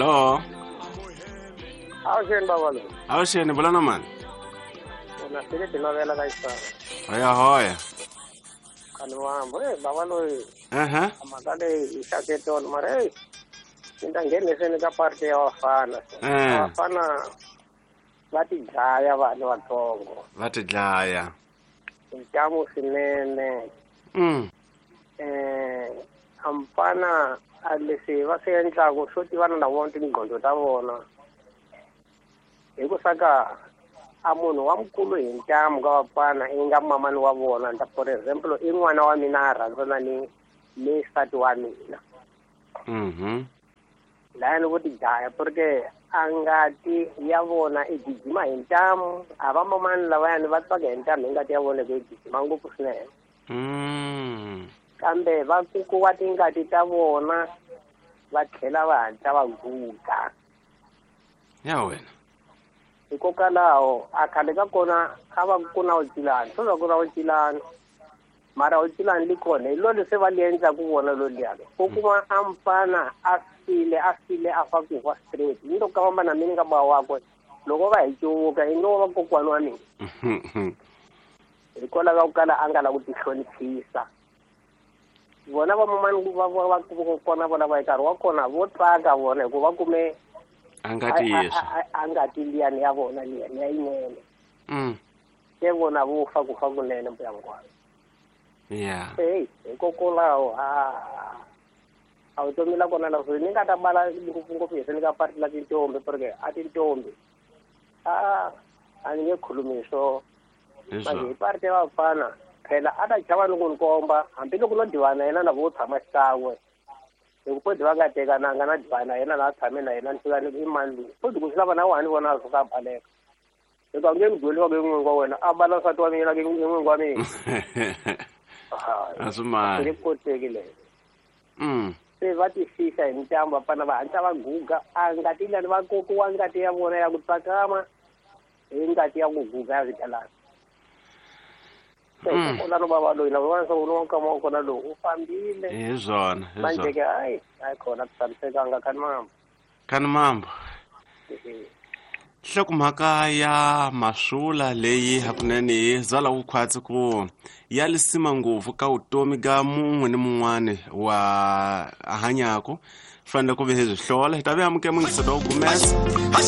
Hello. Avuxeni bava loyi. Avuxeni vula na mani? Una sele tinovela ka xisana. Hoya hoya. Khani wambo eh bava loyi. Aha. Mhaka leyi yi xaketona mara hey ni ta ngheniseni ka party ya vafana. Vafana va ti dlaya vanhu vatsongo. Va ti dlaya. Ntamu swinene. A mfana a leswi va swi endlaku swo tivana na vona tinqondo ta vona. Hi ku saka a munhu wa mukulu hi ntamu ka vafana i nga mamani wa vona. Nta for example i n'wana wa mina a rhandzana ni nsati wa mina. Lani vo ti dlaya porque a ngati ya vona i gijima hi ntamu, a va mamani lavayani va tsaka hi ntamu hi ngati ya vona ku yi gijima ngopfu swinene. Kambe va kukuwa tingati ta vona va tlhela va hatla va guga. Ya wena. Hikokwalaho a khale ka kona a va ku na vucilani, swo ku na vucilani. Mara vucilani li kona hi lo leswi va li endlaku vona lo liyani. U kuma a mfana a file a file a fa ku fa straight. Ni loko ka famba na mina ka ba wakwe loko va hi cuvuka i ngo va kokwana wa mina. Hikwalaho ka ku kala a nga la ku tihloniphisa. Vona va mamani va va va kona vona va nkarhi wa kona vo tsaka vona hikuva va kume a nga tiyisa a nga ti liyani ya vona liyani ya yinene. Se vona vo fa ku fa kunene mbuya hinkwayo. Yeah. Hey, hikokwalaho a vutomi la kona la ni nga ta bala ngopfungopfu hi ni ka party la tintombi porque a tintombi a ni nge khulumi swo. Manje hi party ya vafana phela a ta chava ni ku ni komba hambiloko no divana yena na vo tshama xikan'we. Hi ku podi va nga tekananga na divana yena la tshame na yena ni fika ni i mani loyi. Podi ku swi lava na wena ni vona a suka a baleka. Hikuva nge ni gweliwa ke n'wingi wa wena a bala nsati wa mina ke n'wingi wa mina. A swi mali. Swi koteki leyo. Se va ti fihla hi ntambu vafana va hatla va guga a ngati lani va kokiwa ngati ya vona ya ku tsakama hi ngati ya ku guga ya swigalana. Se hikokwalaho bava loyi na vona swa ku nkama wa kona lowu u fambile. Hi swona, hi swona. Manje ke hayi hayi khona ku tshamisekanga khani mambo. Khani mambo. Nhlokomhaka ya maswula leyi hakunene yi byala ku khwatsi ku ya lisima ngopfu ka vutomi ka mun'we ni mun'wani wa hanyako fanele ku ve hi byi hlola hi ta ve amukela mungiseto wa gumesa.